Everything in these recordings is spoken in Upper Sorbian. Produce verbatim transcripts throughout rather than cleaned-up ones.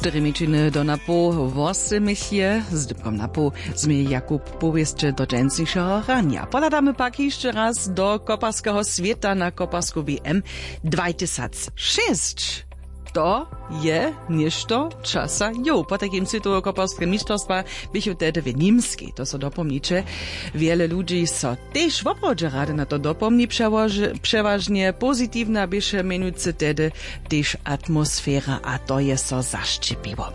Štyri mjeńšiny do napoł wosymich je z dypkom napoł změje jakub. Powěsće do dźensnišeho ranja pohladamy pak hišće raz do koparskeho swěta na koparsku w m dwajtysac šěsć. To je něšto časa jow potajkim swětoweho koparskeho mišćerstwa běchu tehdy w nimskej to so dopomniće. Wjele ludźi so tež woprawdźe rady na to dopomni přewažnje pozitiwna běše mjenujcy tehdy tež atmosfera a to je so zašćěpiło.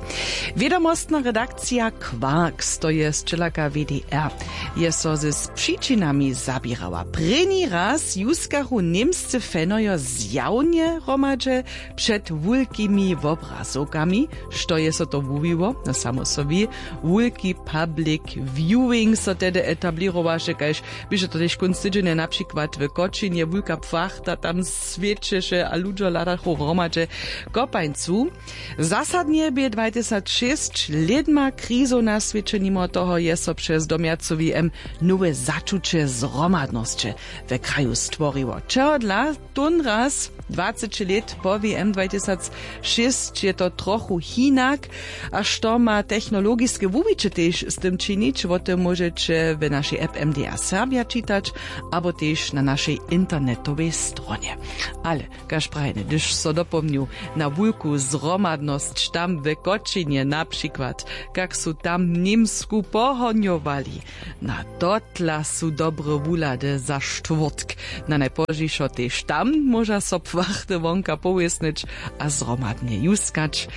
Wědomostna redakcija quarks to je sćelaka w d r je so z přičinami zaběrała prěni raz juskachu němscy fanojo zjawnje hromadźe před wulkimi wobrazowkami. Što je so to wuwiło na samo so wi wulki public viewing so tehdy etablěrowaše kaž běše to tež kónc tydźenja na přikład w kočinje wulka płachta tam swěćeše a ludźo hladachu hromadźe kopańcu. Zasadnje bě dwajtysac šěsć lědma krizow na swěće nimo toho je so přez domjacowi m nowe začuće zhromadnosće w kraju stworiło čehodla tónraz dwaceći lět po w m dwajtysac šěsć je to trochu hinak. A što ma technologiske wuwiće tež z tym činić wo tym móžeće w našej app m d a serbja čitać abo tež na našej internetowej stronje. Ale kaž prajene hdyž so dopomnju na wulku zhromadnosć tam w kočinje na přikład kak su tam němsku pohonjowali. Na totla su dobre wuhlady za štwórtk. Na najpozdźišo tež tam móža so płachty wonka powěsnyć a zhromadnje juskać.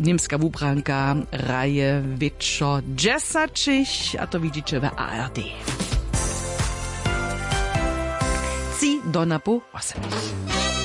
Němska wubranka hraje wětšo dźesaćich a to widźiće w a r d. Tři do napoł wosebich.